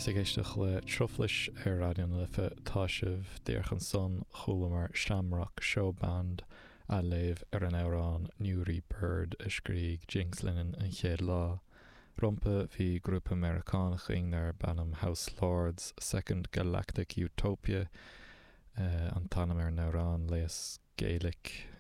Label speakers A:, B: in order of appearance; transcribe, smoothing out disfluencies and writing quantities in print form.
A: Is ag éisteacht le Truflais ar Raidió na Life atá sibh. Díreach ansan chualamar Shamrock Showband a' léamh ar an amhrán Newry Bird a scrígh Jinx Lennon an chéad lá. Rompu bhí grúpa Meiriceánach againn darb ainm House Lords, Second Galactic Utopia an t-ainm ar an amhrán, léas Gaelic.